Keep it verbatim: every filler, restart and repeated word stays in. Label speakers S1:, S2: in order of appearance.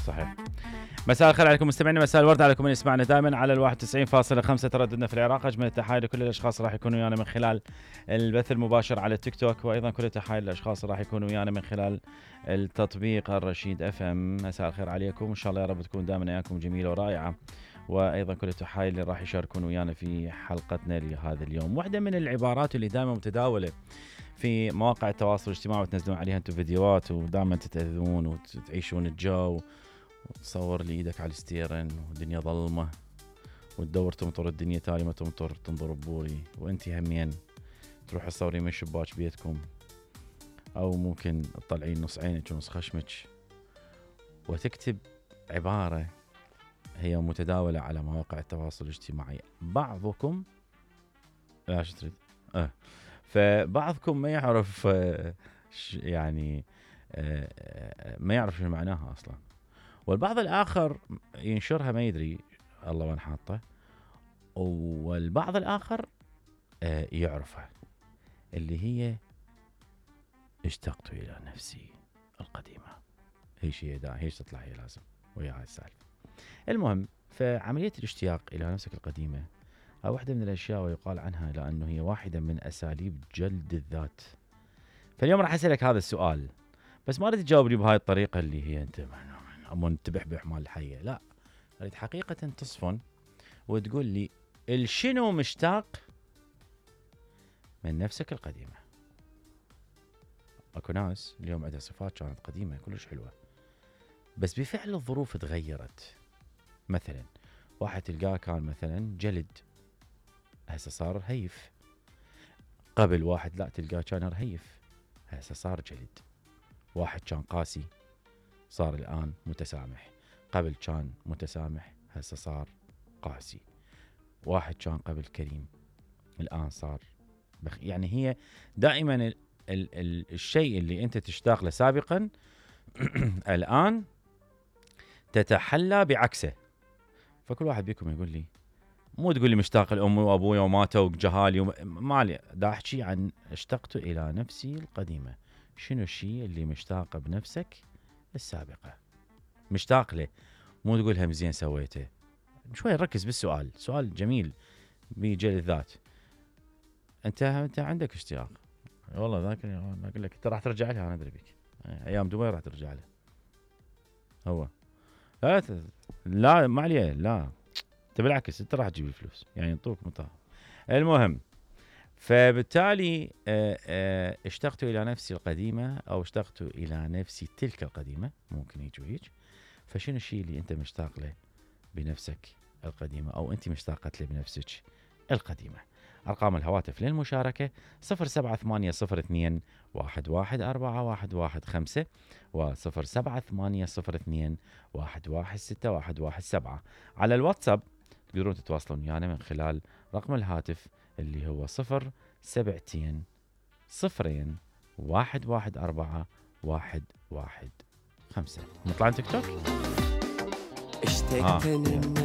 S1: صحيح. مساء الخير عليكم مستمعينا، مساء الورد عليكم من يسمعنا دائما على الواحد وتسعين فاصلة خمسة ترددنا في العراق. اجمل التحايا لكل الاشخاص راح يكونوا ويانا من خلال البث المباشر على التيك توك، وايضا كل التحايا للاشخاص راح يكونوا ويانا من خلال التطبيق الرشيد اف ام. مساء الخير عليكم، ان شاء الله يا رب تكون دائما اياكم جميله ورائعه، وايضا كل التحايا اللي راح يشاركون ويانا في حلقتنا لهذا اليوم. واحده من العبارات اللي دائما متداوله في مواقع التواصل الاجتماعي وتنزلون عليها انتم فيديوهات ودائما تتاذون وتعيشون الجو، وتصور لي ايدك على الستيرن والدنيا ظلمه وتدور تمطر الدنيا تالي ما تمطر تنظر ببوري، وانتي همين تروح تصوري من شباك بيتكم، او ممكن تطلعين نص عينك ونص خشمك وتكتب عباره هي متداوله على مواقع التواصل الاجتماعي. بعضكم لا شو تريد اه فبعضكم ما يعرف آه يعني آه ما يعرف شو معناها اصلا، والبعض الآخر ينشرها ما يدري الله وين حاطه، والبعض الآخر آه يعرفها، اللي هي اشتقت إلى نفسي القديمة. هي شيء دا هي تطلع هي لازم ويا هاي السالفة. المهم، فعملية الاشتياق إلى نفسك القديمة هي واحدة من الأشياء ويقال عنها لأنه هي واحدة من أساليب جلد الذات. فاليوم راح أسألك هذا السؤال، بس ما أريد تجاوب لي بهاي الطريقة اللي هي أنت أمون تبحبح مال الحية، لا، أريد حقيقة تصفن وتقول لي الشنو مشتاق من نفسك القديمة. أكو ناس اليوم عندها صفات كانت قديمة كلش حلوة، بس بفعل الظروف تغيرت. مثلا واحد تلقاه كان مثلا جلد، هسه صار هيف. قبل واحد لا تلقاه كان رهيف، هسه صار جلد. واحد كان قاسي صار الآن متسامح، قبل كان متسامح هسه صار قاسي. واحد كان قبل كريم الآن صار بخ... يعني هي دائما ال... ال... ال... الشيء اللي أنت تشتاق له سابقا الآن تتحلى بعكسه. فكل واحد بيكم يقول لي، مو تقول لي مشتاق لأمي وأبوي وماتوا وجهالي وم... مالي، دا أحكي عن اشتقت إلى نفسي القديمة. شنو الشيء اللي مشتاق بنفسك السابقة؟ مشتاق له، مو تقول هم زين سويته. شوي ركز بالسؤال، سؤال جميل بيجي الذات. انت انت عندك اشتياق والله، ذاك اقول لك انت راح ترجع لها، انا ادري بك ايام دبي راح ترجع له. هو لا لا ما عليه، لا انت بالعكس انت راح تجيب الفلوس، يعني ينطوك مطار. المهم، فبالتالي اشتقت الى نفسي القديمه او اشتقت الى نفسي تلك القديمه، ممكن يجي ويج. فشنو الشيء اللي انت مشتاق له بنفسك القديمه او انت مشتاقت له بنفسك القديمه؟ ارقام الهواتف للمشاركه صفر سبعة ثمانية صفر اثنين واحد واحد أربعة واحد واحد خمسة وصفر سبعة ثمانية صفر اثنين واحد واحد ستة واحد واحد سبعة. على الواتساب تقدرون تتواصلون ويانا من خلال رقم الهاتف اللي هو صفر سبعتين صفرين واحد واحد أربعة واحد واحد خمسة. نطلع تيك توك.
S2: اشتقت للنفس